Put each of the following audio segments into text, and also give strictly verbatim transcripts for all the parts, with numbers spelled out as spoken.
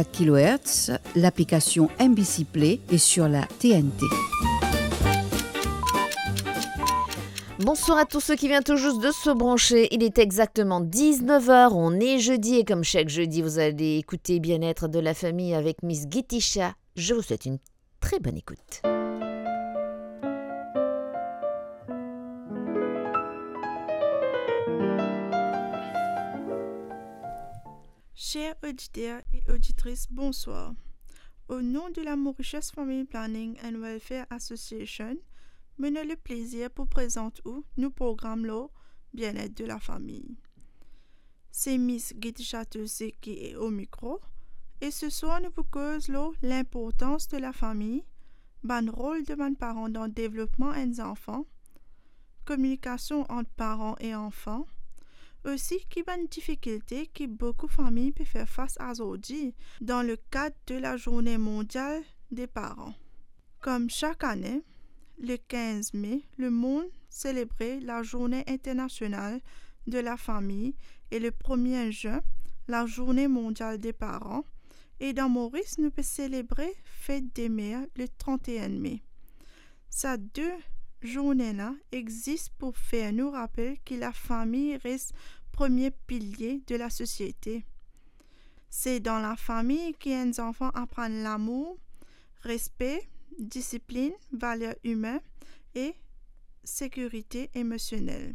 kilohertz, l'application M B C Play et sur la T N T. Bonsoir à tous ceux qui viennent tout juste de se brancher. Il est exactement dix-neuf heures, on est jeudi et comme chaque jeudi, vous allez écouter Bien-être de la famille avec Miss Gitisha. Je vous souhaite une très bonne écoute. Chers auditeurs et auditrices, bonsoir. Au nom de la Mauritius Family Planning and Welfare Association, mo ena leplezir pou prezant ou nou program lor bien-être de la famille. Se Miss Gitisha Tulsi ki e o mikro, e seswar nou pou koz lor linportans de lafami, bann rol de bann paran dan devlopman enn zanfan, kominikasion ant paran e anfan, osi ki bann difikilte ki boukou fami pe fer fas azordi dan le kad de la Zourne Mondial de Paran. Kom sak ane, le kinz me, lemond selebre la Zourne Internasional de la Fami e le premie zin, la Zourne Mondial de Paran, e dan Moris, nou pe selebre Fet de Mer le trant-e-enn me. Sa de zourne la exis pou fer nou rapel ki lafami res premie pilie de lasosiete. Se dan lafami ki enn zanfan aprann lamour, respe, disiplinn, valer imin e sekirite emosionel.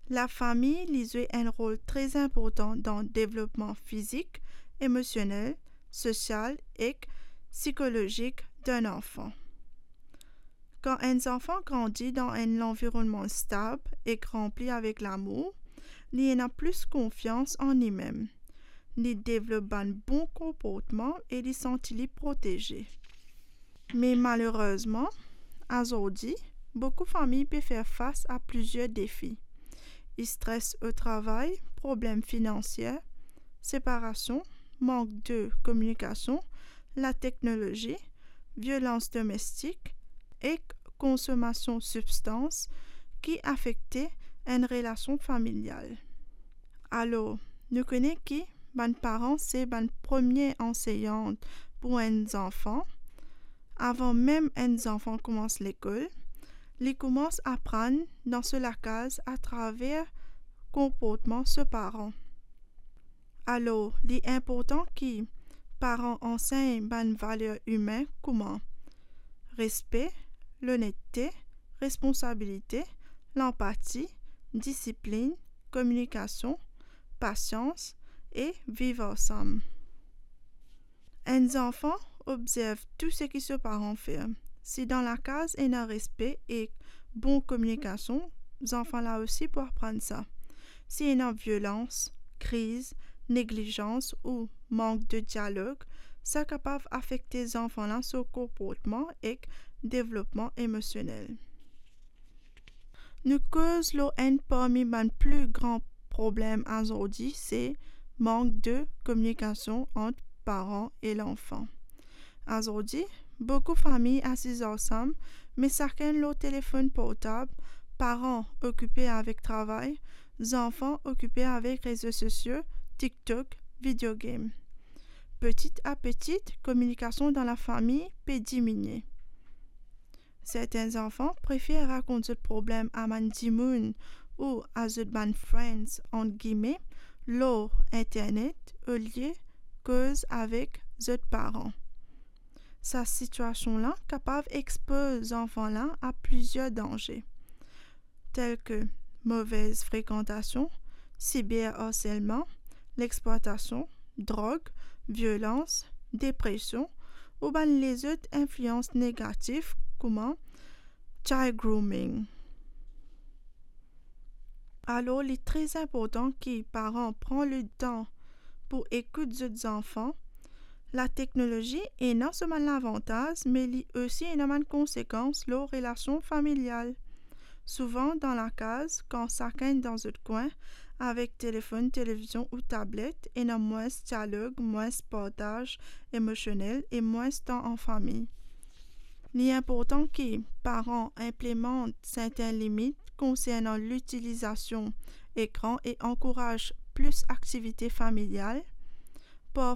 Lafami, li zwe enn rol tre inportan dan devlopman fizik, emosionel, sosial ek psikolozik enn anfan. Kan enn zanfan grandi dan enn lanvironnman stab ek ranpli avek lamour, li ena plis konfians an limem. Li devlop bann bon konportman e li santi li proteze. Me malerezman, azordi, boukou fami pe fer fas a plizier defi. Stres o travay, problem finansie, separasion, mank de kominikasion, lateknolozi, violans domestik ek konsomasion sibstans ki afekte enn relasion familial. Alor, nou kone ki bann paran se bann premie anseyant pou enn zanfan. Avan mem enn zanfan koumans lekol, li koumans aprann dan so lakaz atraver konportman so paran. Alor, li inportan ki paran ansegn bann valer imin kouma respe, lonette, responsabilite, lanpati, disiplinn, kominikasion, pasians e viv ansam. Enn zanfan obzerv tou seki so paran fer. Si dan lakaz ena respe ek bon kominikasion, zanfan la osi pou aprann sa. Si ena violans, kriz, neglizans ou mank de dialog, sa kapav afekte zanfan la so konportman ek devlopman emosionel. Nou koz lor enn parmi bann pli gran problem azordi, se mank de kominikasion ant paran e lanfan. Azordi, boukou fami asiz ansam, me sakenn lor telefonn portab, paran okipe avek travay, zanfan okipe avek rezo sosio, TikTok, video game. Petit a petit, kominikasion dan lafami pe diminie. Sertin zanfan prefer rakont zot problem a bann dimoun ou a zot bann friends, ant gime, lor internet, olie koz avek zot paran. Sa sitiasion la kapav expoz zanfan la a plizier danze, tel ke movez frekantasion, siber arselman, lexplwatasion, drog, violans, depresion ou bann lezot inflians negatif kouma child grooming. Alor, li tre inportan ki paran pran letan pou ekout zot zanfan. Lateknolozi ena so bann lavantaz, me li osi ena bann konsekans lor relasion familial. Souvan dan lakaz, kan sakenn dan zot kwin, avek telefonn, televizion ou tablet, ena mwins dialog, mwins partaz emosionel e mwins tan an fami. Li inportan ki paran inplimant sertin limit konsernan litilizasion ekran e ankouraz plis aktivite familial. Parfwa,